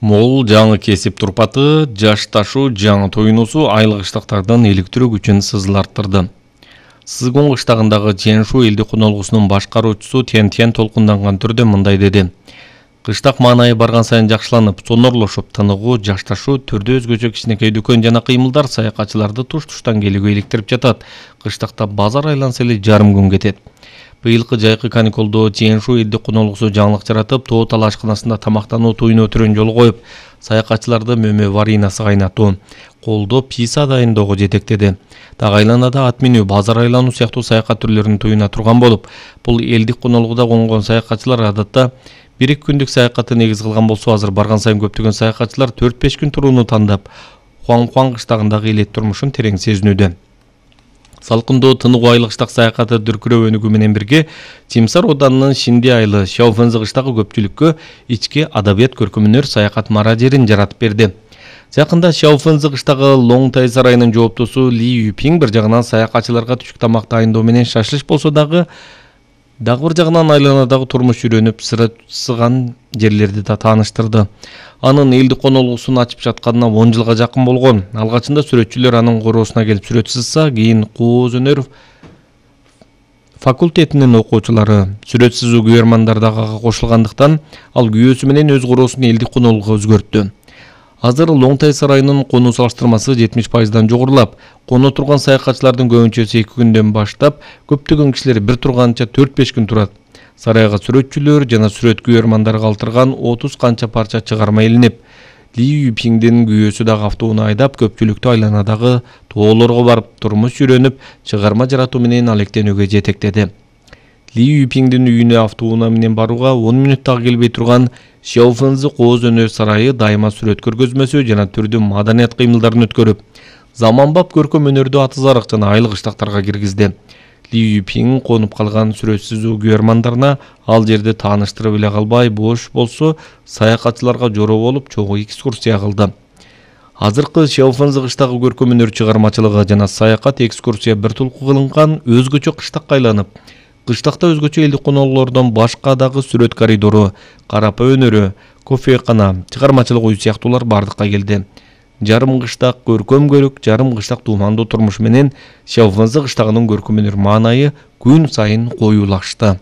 Мол жаңы кесип турпаты, жашташуу жаңы тоюнусу айлык кыштактардан электирүү күчүн сызыларттырды. Сызгон кыштагындагы Ченшу элди кунолгусунун башкаруучусу Тен толкунданган түрдө мындай деди. Кыштак маанайы барган сайын жакшыланып, сонорлошуп, тыныгуу, жашташуу, түрдө өзгөчө кичинекей дүкөн жана кыймылдар саякатчыларды туш-туштан келүүгө иликтирип жатат. Кыштакта базар айланса эле жарым күн кетет. Быйылкы жайкы каникулдо Ченшу элди кунолгусу жаңылык жаратып, Тоо Тал ашканасында тамактануу туюну өтүрөн жол коюп, саякатчыларды мөмө варинасы кайнатуу, колдо писа дайындоого жетектеди. Так айланада ат минүү, базар айлануу сыяктуу саякат түрлөрүн туюна турган болуп, бул элдик кунолгуда конгон саякатчылар адатта 1-2 күндүк саякатты негиз кылган болсо, азыр барган сайын көптөгөн саякатчылар 4-5 күн турууну тандап, Хуан кыштагындагы элет турмушун терең сезинүүдө. Салкындоо тыныгуу айлык кыштак саякаты дүркүрөө өнүгүү менен бирге Тимсар Оданынын Шинди айылы Шаофэнзи кыштагы көпчүлүккө ички адабият көркөмүнөр саякат марадерин жаратып берди. Жакында Шаофэнзи кыштагы Лоңтай сарайынын жооптосу Ли Юпинг бир жагынан саякатчыларга түшүк тамак дайындоо менен шашлыш болсо дагы бир жагынан айланадагы турмуш жүрөнүп сыган жерлерди да тааныштырды. Анын элди конолгусун ачып жатканына 10 жылга жакын болгон. Алгачында сүрөтчүлөр анын короосуна келип сүрөт сызса, кийин кооз өнөр факультетинин окуучулары сүрөт сызуу күйөрмандар дагы кошулгандыктан, ал күйөөсү менен өз короосун элди конолгуга өзгөрттү. Азыр Лоңтай сарайынын конуу салыштырмасы 70%дан жогорулап, коно турган саякатчылардын көбүнчөсү 2 күндөн баштап, көптөгөн кишилер бир турганча 4-5 күн турат. Сарайга сүрөтчүлөр жана сүрөт күйөрмандары калтырган 30 канча парча чыгарма илинип, Ли Юпиңдин күйөөсү дагы автоунаа айдап, көпчүлүктү айланадагы тоолорго барып, турмуш жүрөнүп, чыгарма жаратуу менен алектенүүгө жетектеди. Ли Юпиңдин үйүнө автоунаа менен барууга 10 мүнөттөгө келбей турган Шаофэнзи кооз өнөр сарайы дайыма сүрөт көргөзмөсү жана түрдүү маданият кыймылдарын өткөрүп, заманбап көркөм өнөрдү атызарык жана айлык кыштактарга киргизди. Ли Юпиң конуп калган сүрөт сызуу күйөрмандарына ал жерди тааныштырып эле калбай, бош болсо саякатчыларга жороо болуп, чогуу экскурсия кылды. Азыркы Шаофэнзи кыштагы көркөм өнөр чыгармачылыгы жана саякат экскурсия бир тулку кылынган өзгөчө кыштакка айланып, кыштакта өзгөчө элдик конолордон башка дагы сүрөт коридору, карапа өнөрү, кофекана, чыгармачылык үй сыяктуулар бардыкка келди. Жарым кыштак көркөм көрүк, жарым кыштак туумандуу турмуш менен Шаофэнзи кыштагынын көркөм өнөр маанайы күн сайын коюулашты.